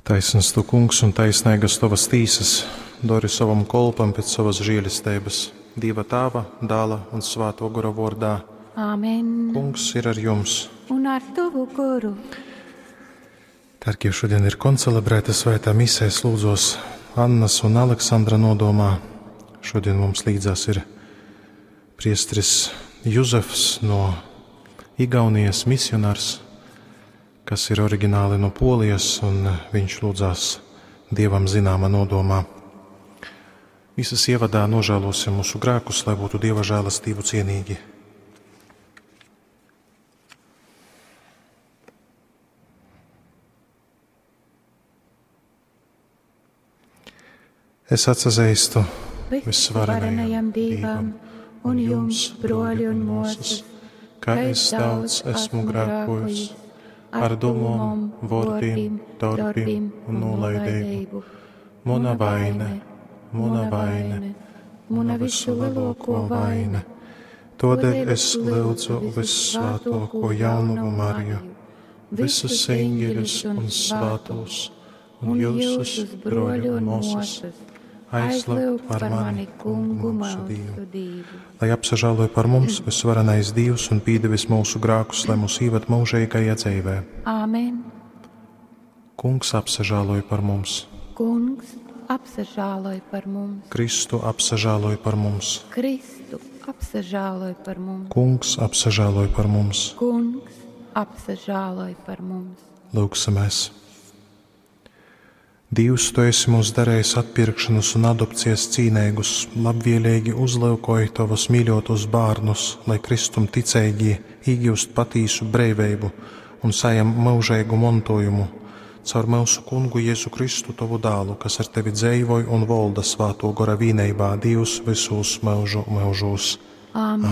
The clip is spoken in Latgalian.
Taisns tu, Kungs, un taisneigas tovas tīsas, dori sovam kolpam pēc sovas žēlesteibas, Dīva Tāva, Dāla un Svātō Gora vōrdā. Āmen. Kungs ir ar jums. Un ar tovu goru. Dargie, šodien ir koncelebrēta svētā mise, es lūdzos Annas un Aleksandra nodomā. Šodien mums līdzās ir priesteris Juzefs no Igaunijas misionārs, kas ir oriģināli no Polijas, un viņš lūdzās Dievam zināma nodomā. Visas ievadā nožēlosim mūsu grēkus, lai būtu Dieva žēlastību cienīgi. Es atsazīstu Visvarenajam Dievam un jums, broļi un mūsas, ka es daudz esmu grēkojis ar domām, vārdiem, darbiem un nolaidību. Mana vaina, mana vaina, mana visu lielāko vaina. Tādēļ es lūdzu vissvētāko jaunavu Mariju, visus eņģeļus un svētos, un jūsus, broļi un māsas, aizlūgt par mani, kungu mūsu Dievu. Lai apsažāloja par mums visvarenais Dievs un pīdevis mūsu grēkus, lai mūs īvad mūžīgajā dzīvē. Āmen. Kungs apsažāloja par mums. Kungs apsažāloj par mums. Kristu apsažāloj par mums. Kristu apsažāloj par mums. Kungs apsažāloj par mums. Kungs apsažāloj par mums. Lūksimies! Dievs, tu esi mūs darījis atpirkšanas un adopcijas cīnīgus, labvēlīgi uzlūkoji tavus mīļotos bērnus, lai Kristum ticīgi iegūst patīsu brīvību un saņem mūžīgu mantojumu caur mūsu kungu Jēzu Kristu, tavu dēlu, kas ar tevi dzīvoj un valda svāto gora vīneibā Dievs visos mūžu mūžos. Āmen.